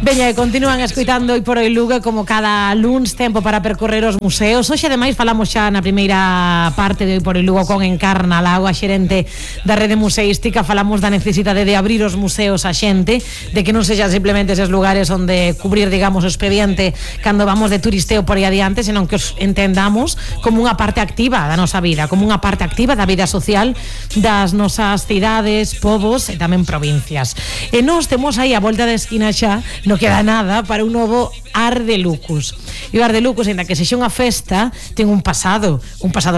Veña, continúan escoitando Hoy por Hoy Lugo, como cada luns, tempo para percorrer os museos. Hoxe, ademais, falamos xa na primeira parte de Hoy por Hoy Lugo con Encarna Lago, a xerente da rede museística. Falamos da necesidade de abrir os museos a xente, de que non sexan simplemente eses lugares onde cubrir, digamos, o expediente cando vamos de turisteo por aí adiante, senón que os entendamos como unha parte activa da nosa vida, como unha parte activa da vida social das nosas cidades, povos e tamén provincias. E nós temos aí a volta da esquina xa, non queda nada para un novo Ar de Lucus. E o Ar de Lucus, ainda que sexa unha festa, ten un pasado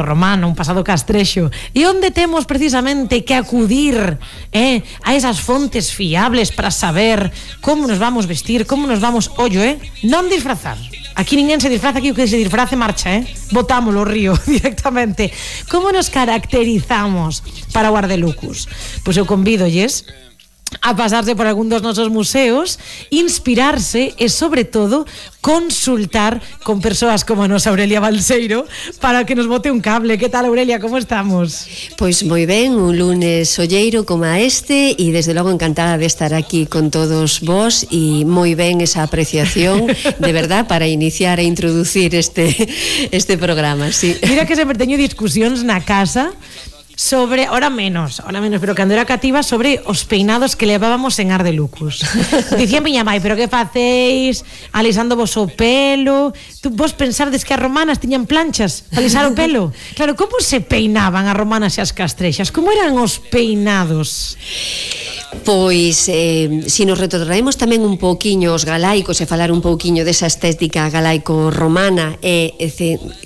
romano, un pasado castrexo, e onde temos precisamente que acudir a esas fontes fiables para saber como nos vamos vestir, como nos vamos, non disfrazar. Aquí ninguén se disfraza, aquí o que se disfrace marcha, botámoslo ao río directamente. Como nos caracterizamos para o Ar de Lucus? Pois eu convídolles a pasarse por algún dos nosos museos, inspirarse e, sobre todo, consultar con persoas como a nosa Aurelia Balseiro para que nos bote un cable. Que tal, Aurelia, como estamos? Pois moi ben, un lunes solleiro como a este, e desde logo encantada de estar aquí con todos vos, e moi ben esa apreciación, de verdad, para iniciar e introducir este programa, sí. Mira que sempre teño discusións na casa sobre, ahora menos, pero cando era cativa, sobre os peinados que levábamos en Ar de Lucus. Dicía miña mai, pero que facéis alisando vos o pelo? Vos pensardes que as romanas tiñan planchas para alisar o pelo? Claro, como se peinaban as romanas e as castrexas? Como eran os peinados? Pois, se nos retrotraemos tamén un pouquiño os galaicos e falar un pouquiño desa estética galaico-romana e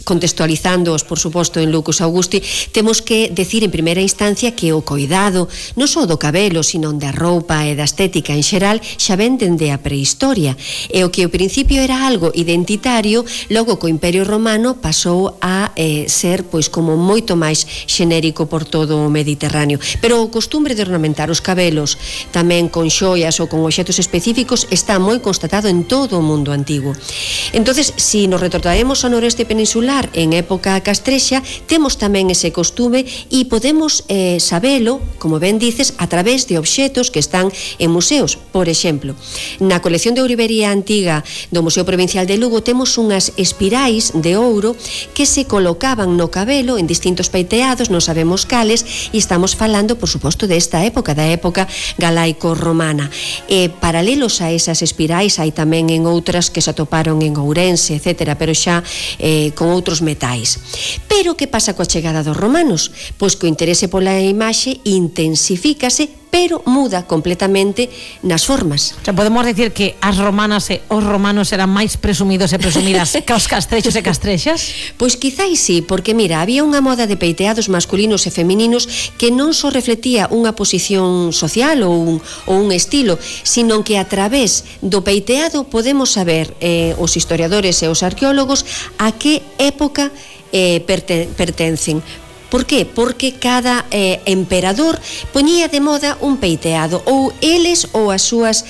contextualizándoos, por suposto, en Lucus Augusti, temos que decir en primeira instancia que o coidado non só do cabelo, sino da roupa e da estética en xeral xa ven dende a prehistoria, e o que ao principio era algo identitario, logo co Imperio Romano pasou a ser pois como moito máis xenérico por todo o Mediterráneo. Pero o costumbre de ornamentar os cabelos tamén con xoias ou con obxectos específicos está moi constatado en todo o mundo antigo. Entonces, se nos retrotraemos ao noreste peninsular en época castrexa, temos tamén ese costume e podemos sabelo, como ben dices, a través de obxectos que están en museos. Por exemplo, na colección de ourivería antiga do Museo Provincial de Lugo temos unhas espirais de ouro que se colocaban no cabelo en distintos peiteados, non sabemos cales, e estamos falando, por suposto, desta época, da época galaico-romana. Paralelos a esas espirais hai tamén en outras que se atoparon en Ourense, etc., pero xa con outros metais. Pero que pasa coa chegada dos romanos? Pois que o interese pola imaxe intensifícase, pero muda completamente nas formas. O sea, podemos decir que as romanas e os romanos eran máis presumidos e presumidas que os castrexos e castrexas? Pois quizáis sí, porque mira, había unha moda de peiteados masculinos e femininos que non só reflectía unha posición social ou un estilo, sino que a través do peiteado podemos saber, os historiadores e os arqueólogos, a que época pertencen. Por qué? Porque cada emperador poñía de moda un peiteado, ou eles ou as súas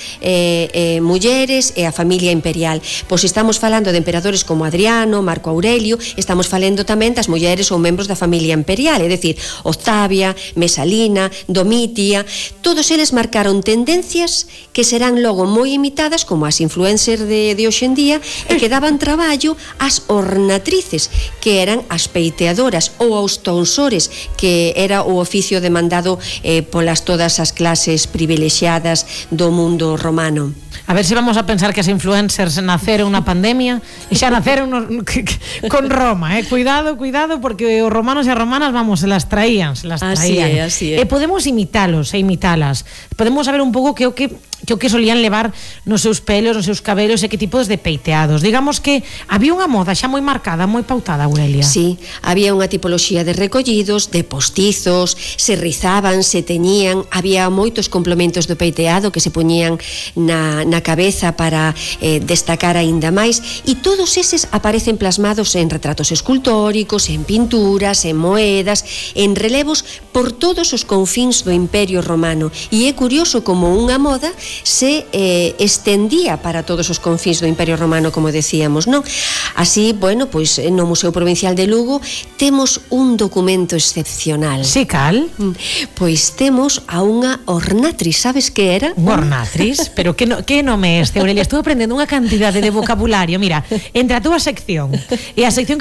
mulleres e a familia imperial. Pois estamos falando de emperadores como Adriano, Marco Aurelio, estamos falando tamén das mulleres ou membros da familia imperial, é dicir, Octavia, Mesalina, Domitia. Todos eles marcaron tendencias que serán logo moi imitadas como as influencers de hoxe en día, e que daban traballo ás ornatrices, que eran as peiteadoras, ou aos tonsores, que era o oficio demandado polas todas as clases privilexiadas do mundo romano. A ver se vamos a pensar que as influencers naceron na pandemia e xa naceron con Roma, Cuidado, porque os romanos e as romanas, vamos, se las traían. Así é. E podemos imitalos e imitalas. Podemos saber un pouco que o que solían levar nos seus pelos, nos seus cabelos, e que tipos de peiteados. Digamos que había unha moda xa moi marcada, moi pautada, Aurelia. Sí, había unha tipoloxía de recollidos, de postizos, se rizaban, se teñían, había moitos complementos do peiteado que se poñían na cabeza para destacar aínda máis, e todos eses aparecen plasmados en retratos escultóricos, en pinturas, en moedas, en relevos por todos os confíns do Imperio Romano, e é curioso como unha moda se estendía para todos os confíns do Imperio Romano, como decíamos, non? Así, bueno, pois no Museo Provincial de Lugo temos un documento excepcional. Si, cal? Pois temos a unha ornatriz, sabes que era? Unha ornatriz? Pero que nome este, Aurelia? Estou aprendendo unha cantidade de vocabulario. Mira, entre a túa sección e a sección que